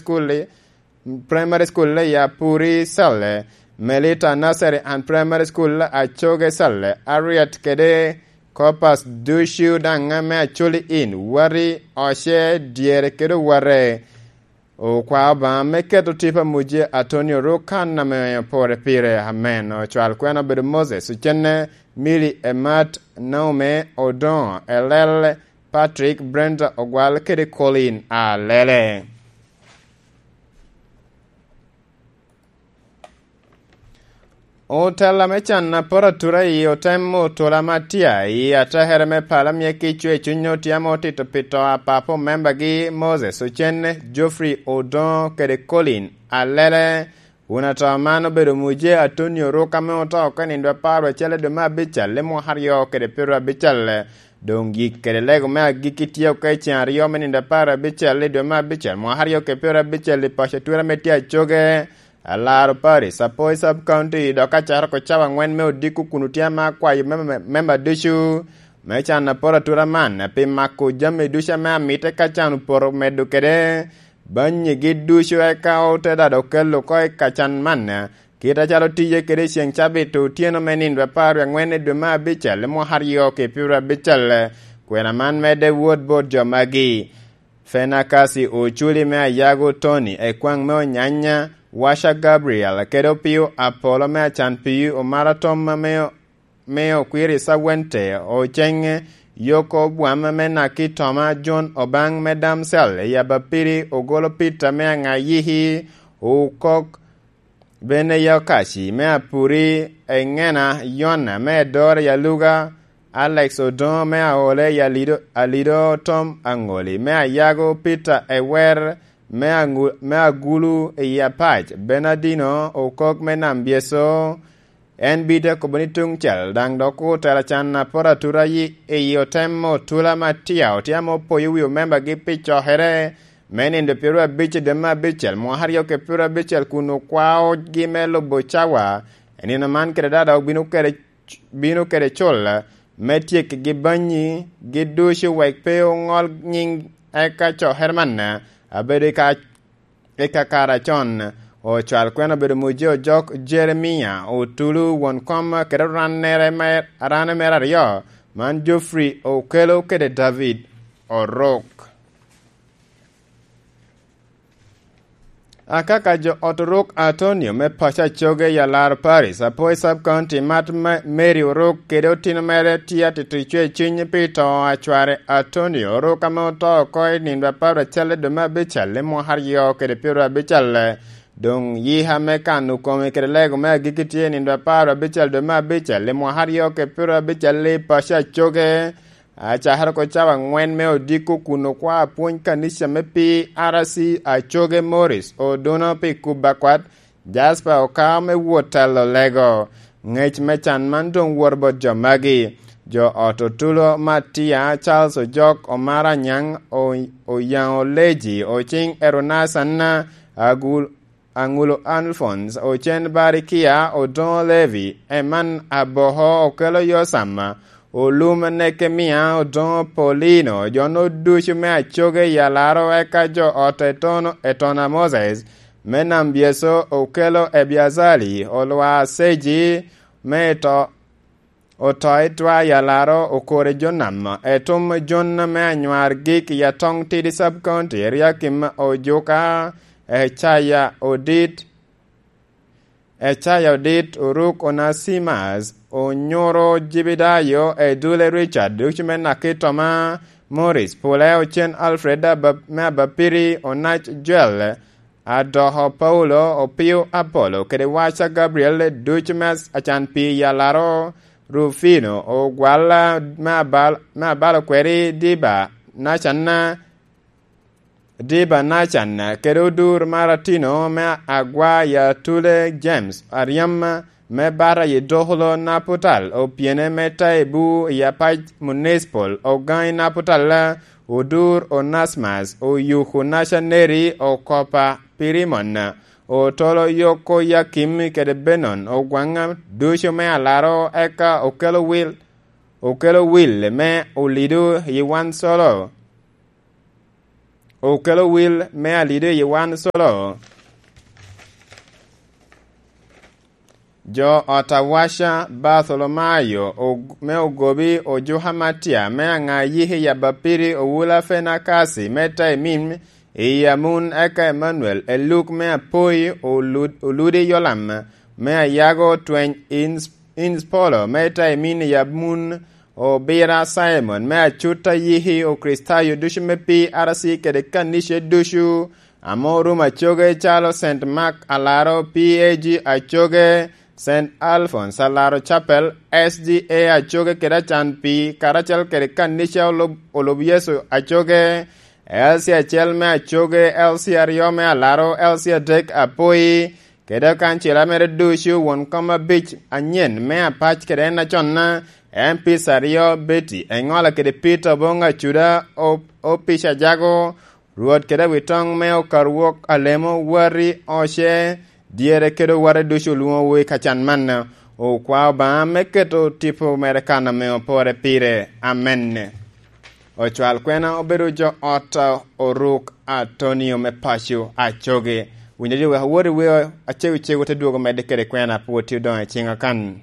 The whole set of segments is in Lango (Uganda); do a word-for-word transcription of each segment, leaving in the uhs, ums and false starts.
School, Primary School i Apuri Cell, Melita Nursery and Primary School Acoge Cell, Ariat kede Corpus ducu daŋ me Acholi in, Wari, Oce, Dyere kede Owate. Okwao Obaŋa me keto tipo a Muje Atonio Rukan ame opore pire. Amen. Ocwal kwena obedo Moses Ocenne, Mili Emat, Naume Odoŋo, Elel Patrick, Brenda Ogwal kede Colin Alele. Otella me can a poto atura i otem otula ma tye i atekere me pala mie ki cwe cuny otye ame otito pi to a papa omembagi Moses Ocen, Geoffrey Odoŋo kede Colin Alele. Wun ato man obedo Muje Atonio Ruk ame oto oko i nindo apar acel i dwe me abicel i mwaka aryo kede pyero abicel. Doŋ yik kede lego me agikki tye oko i ceŋ aryo me nindo apar abicel i dwe me abicel mwaka aryo kede pyero abicel i paco atura me tye Acoge. Alaro Paris, Apoi Sub County, dok acaro oko cawa aŋwen me odiko kun otye ame akwayo memba, memba ducu me can a poto atura man pi mako jami ducu ame amite ka can opoto medo kede bannyigi ducu, eka ote dado kelo oko i ka can man, kit acalo tije kede i ceŋ cabit otyeno me nindo apar wie aŋwen i dwe me abicel i mwaka aryo ki pyero abicel. Kwena man medde wot bot jo magi. Fenakasi Oculi me Ayago, Tony Ekwaŋ me Onyanya, Washa Gabriel, kede Opio Apolo me Acan Pii, Omara Tom me, me Okwiri Sawente, Oceŋ Yoko Bwam me Naki Toma, John Obaŋ me Damsel, Yabapiri Ogolo Peter me Aŋayiki, Okok Bene Yokaci me Apuri, Eŋena Yona me Edora Yaluga, Alex Odoŋo me Aole Yalido, Alido Tom Aŋoli me Ayago, Peter Ewer me Aŋu-, me Agulu i Apac, Bernardino Okok me Nam Byeso. En bite akobo ni tuŋ cel daŋ dok otelo can a poto atura yi-, i otem otula ma tye, otye ame opoyo wi omembagi pi cokere me nindo pyero abic i dwe me abicel, mwaka aryo ki pyero abicel, kun okwaogi me lubo cawa. I nino man kede dada obino kede, bino kede cul me tyekgi bannyi gi ducu, wek pe oŋol nyiŋ, eka cokere man abedo i ka, i kakare acon. Ocwal kwena obedo Muje Ojok, Jeremia Otulu, won kom kede rannere me, ranne mere aryo, man Geoffrey Okelo kede David Orok. Akaka jo ot Oruk Atonio me paco Acoge i Alaro Paris, Apoi Sub County, mat me Mary Oruk kede otino mere tye atito cwe cuny pi to a cware Atonio Oruk ame oto oko i nindo apar acel i dwe me abicel i mwaka aryo kede pyero abicel. Doŋ yika me kano kome kede lego me agikki tye i nindo apar abicel dwe me abicel i mwaka aryo kede pyero abicel i paco Acoge. Acakere oko cawa aŋwen me odiko kun okwao apwony kanica me P R C Acoge, Morris Oduno pi kubo akwat, Jasper Okao me wot telo lego. Ŋec me can man doŋ wot bot jo magi: jo ot Otulo Matia, Charles Ojok, Omar Anyaŋ, O-, Oyaŋo Leji, Ociŋ Erunasan, Agul-, Aŋulo Alphonse, Ocen Barikia, Odoŋo Levi, Eman Aboho, Okelo Yosam, Olum Nekemia, Odoŋo Paulino, jo-nu ducu me Acoge i Alaro, eka jo ot Etono, Etona Moses, me Nam Byeso, Okelo Ebiazali, Olwa Seji, me to, Oto i twa i Alaro, Okore Jonam, Etum Jon me Anywar Gik i Atoŋ Tidi Sub County, Eriakim Ojuka, Ecaya Odit, Ecaya Odit, Oruk Onasimas, Onyuro Jibidayo, Edule Richard, ducu me Naki Toma, Morris Pule, Ocen Alfred Aba-, me Abapiri, Onac Joel, Adoko Paulo, Opio Apolo, kede Waca Gabriel, ducu me Acan Pii i Alaro, Rufino, Ogwala me Abal-, me Abalo Kweri, Diba Nacan, Diba Nacan, kede Odur Maratino me Agwa i Atule, James Aryam me Bata i Dokolo Naputal, Opyene me Taibu i Apac Municipal, Ogaŋi Naputal, Odur Onasmas, Oyuku Nacaneri, Okopa Pirimon, Otolo Yoko Yakim kede Benon Ogwaŋa, ducu me Alaro, eka Okelo Wil, Okelo Wil me Olido i Wansolo, okelo wil me alido i wan solo. Jo ot awaca Bartholomayo og-, me Ogobi, Ojuka Matia me Aŋa, Yiki Yabapiri, Owula Fenakasi me Taimim, i Amun, eka Emanuel Eluk me Apoi, Olud-, Oludi Yolam me Ayago, Tweny Ins-, Inspolo me Taimim i Amun, Obira Simon me Acuta, Yiki Okricitayo ducu me P R C kede kanica ducu ame orumo Acoge, calo Saint Mark Alaro, P A G Acoge, Saint Alphonse Alaro Chapel, S D A Acoge kede Acan Pii, karacel kede kanica olub, olub Yecu Acoge, L C acel me Acoge, L C aryo me Alaro, L C adek Apoi, kede kancila mere ducu, won kom abic anyen me apac kede en aconna, M Ps aryo, Betty Eŋola kede Peter Oboŋ Acuda, O-, Opic Ajago, Rwot kede awitoŋ me Okarwok Alemo, Wati Oce, dyere kede owate ducu olwoŋowu i kacan man. Okwa Obaŋa me keto tipo mere kan ame opore pire. Amen. Ocwal kwena obedo jo ot Oruk Atonio me paco Acoge. Winyo jo wek awot i wer acegocego te dwogo medde kede kwena pwod tye odoŋo i ciŋa kan.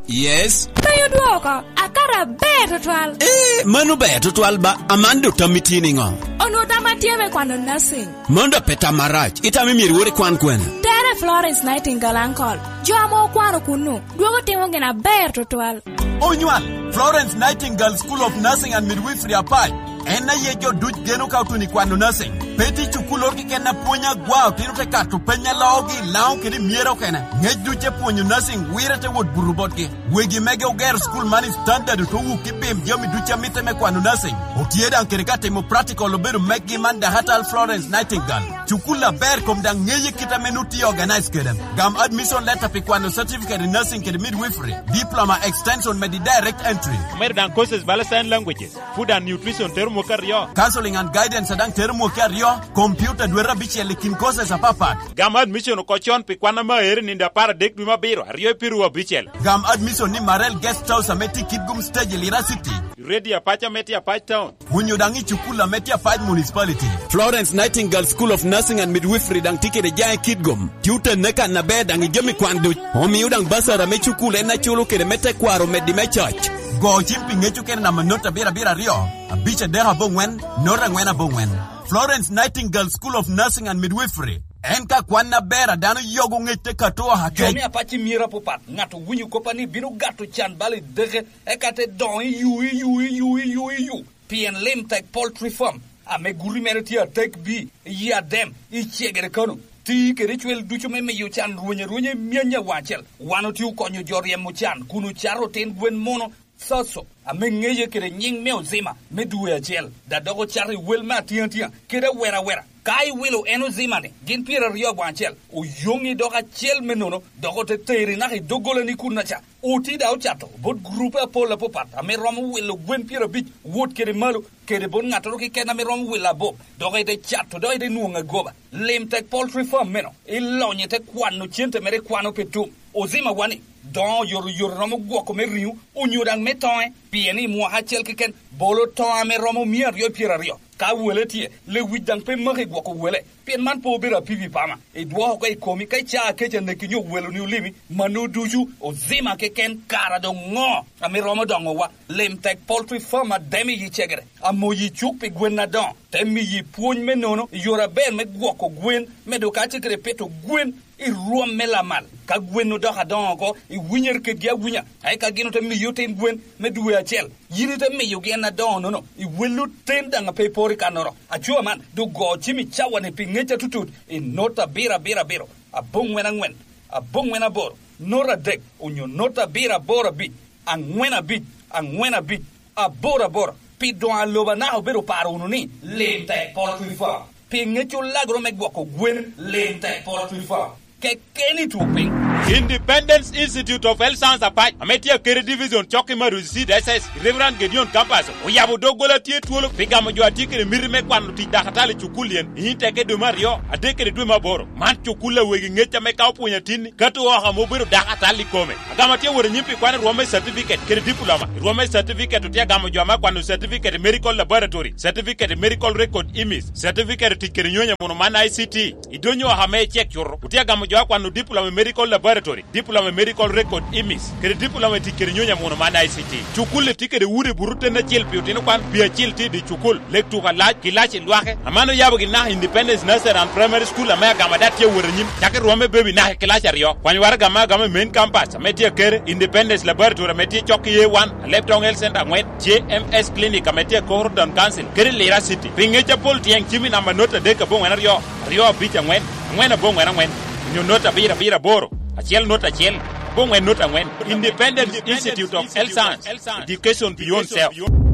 Yes. Tayo dwoko, akato aber tutwal. Eh, mano ber tutwal ba, Amanda otammi tye niŋo? Onwo tam atye me kwano nursing. Mano da pe tam marac, itamo myero iwot ikwan kwene? Tere Florence Nightingale, uncle. Jo ame okwano kunnu, dwogo timo gin aber tutwal. Onywal, Florence Nightingale School of Nursing and Midwifery Apac. En aye jo duc geno ka otuno i kwano nursing. Pe tye cukulloro keken a pwony agwa, otino te kato peny a loogi, Laŋo kede myero okene. Ŋec duc te pwonyo nursing wire te wot buto botgi. Wegi mege ogero school man i standard, oto wuk i bim jami duc a mitte me kwano nursing. Otye daŋ kede ka timo practical obedo meggi man Dakattar Florence Nightingale. Cukulla aber kom daŋ ŋeye kit ame nu tye organize kede. Gam admission letter pi kwano certificate in nursing kede midwifery, diploma extension medi direct entry. Omedo daŋ courses bala sign languages, food and nutrition tero mwaka aryo. Counseling and guidance daŋ tero mwaka aryo, computer dwete abicel i kin courses apapat. Gam admission oko con pi kwan ame aero i nino apar adek dwe me abiro, aryo i piru abicel. Gam admission ni Marel Guest House ame tye Kitgum Stage i Lira City. Ready Apac ame tye Apac Town. Onyo daŋ i cukul ame tye Apac Municipality. Florence Nightingale School of Nursing and Midwifery daŋ tye kede jaŋe Kitgum. Tye otenne kan aber daŋ i jami kwan duc. Omio daŋ basara me cukul en aculo kede me tekwaro omeddi me cac. Go cim pi ŋec okene namba not abiro abiro aryo, abic adek aboŋwen, not aŋwen aboŋwen. Florence Nightingale School of Nursing and Midwifery. En ka kwan aber a dano yogo ŋec te kato oha kec. Jo me Apac i myero apapat, ŋat owinyo kop a ni bino gato can bal i deke, eka te doŋo i yu, i yu, i yu, i yu, i yu. Pien Lim Tek Poultry Farm, ame guti mere tye atek bi, i Adem, i Cegere Kano, ti kede cwel ducu me miyo can rweny arwenya i myany awaŋ acel. Wan otye okonyo jo ryemo can kun ocato otin gwen muno, Soso, ame ŋeye kede nyiŋ me Ozima me dwe acel, da dok ocato i wel me atiŋatia kede awera awera. Ka iwilo en Ozima-ni gin pyeraryo awaŋ acel, oyoŋi dok acel me nono, dok ote teri naka i doggolani kunnaca. Oti da ocato bot gurupe apol apapat ame romo wilo gwen pyerabic wot kede malo, kede bot ŋattoro keken ame romo wilo abop, dok ite cato, dok ite nwoŋo agoba. Lim Tek Poultry Farm meno, ilonyo ite kwano cente mere ikwano pe tum. Ozima wani, doŋo oyotoyot romo gwoko me riŋo, onyo daŋ me toŋe, pien i mwaka acel keken bolo toŋo ame romo mia aryo pyeraryo. Ka wele tye, lewic daŋ pe maki gwoko wele, pien man pe obedo apipi pama. Idwoko oko i komi ka icaa kec aneki nyo weloni olimi, mano ducu Ozima keken. Kara doŋ ŋo ame romo doŋowa? Lim Tek Poultry Farm Adem i Cegere, amoyi cuk pi gwen adoŋo, te miyi pwony me nono i yore aber me gwoko gwen, medo kacel kede pito gwen i rwom me lamal. Ka gwen odoko adoŋo oko, iwinyere kedgi awinya, eka gin ote miyi otin gwen me dwe acel. Yin ite miyogi en adoŋo-nono, iwello ten daŋ a pe iporo i kannoro. Aco man, doŋ go cim i cawa-ni pi ŋec atutut, i not abiro abiro abiro, aboŋwen aŋwen, aboŋwen aboro, not adek, onyo not abiro aboro abic, aŋwen abic, aŋwen abic, aboro aboro. Pi doŋ a lobo anaka obedo oparo wunu ni, Lim Tek Poultry Farm. Pi ŋec olagoro me gwoko gwen, Lim Tek Poultry Farm. keken i twok piny. Independence Institute of Health Science Apac, ame tye Akere Division, cok i Maruzi Seed S S, Reverend Gideon Kampaso, oyabo doggola tye twolo pi gamo jo a tye kede miti me kwano tic dakatal i cukul yen, i nyim teke dwe me aryo, adek kede dwe me aboro. Man cukul a wegi ŋec ame ka opwonyo atinni, ka to oko ame obedo dakatal i kome. Agamo atye wot anyim pi kwano rwom me certificate kede diploma. I rwom me certificate otye agamo jo ame akwano certificate i medical laboratory, certificate i medical record imis, certificate tic kede nyonyo muno man I C T. I dony oko ame icek cuto, otye agamo jo akwano diploma i medical laboratory, diploma i medical record imis, kede diploma i tic kede nyonyo muno man I C T. Cukul-li tye kede udi buto ten acel pi otino kwan, pi acel tye i dye cukul, lek tuko alac, kilaci lwake. Aman oyabo gin naka Independence Nursery and Primary School ame agamo ada tye awot anyim, cak i rwom me baby naka i kilaci aryo. Kwany waraga ame agamo i main campus ame tye Akere, Independence Laboratory ame tye cok i A one, Alebtong Health Center angwen, J M S Clinic ame tye i Koro Town Council, kede Lira City. Pi ŋec apol tyeng cim i namba not adek aboŋwen aryo, aryo abic angwen, angwen aboŋwen angwen, onyo not abiro abiro aboro, acel not acel, aboŋwen not angwen. Independence Institute of Health Science, Education Beyond Self.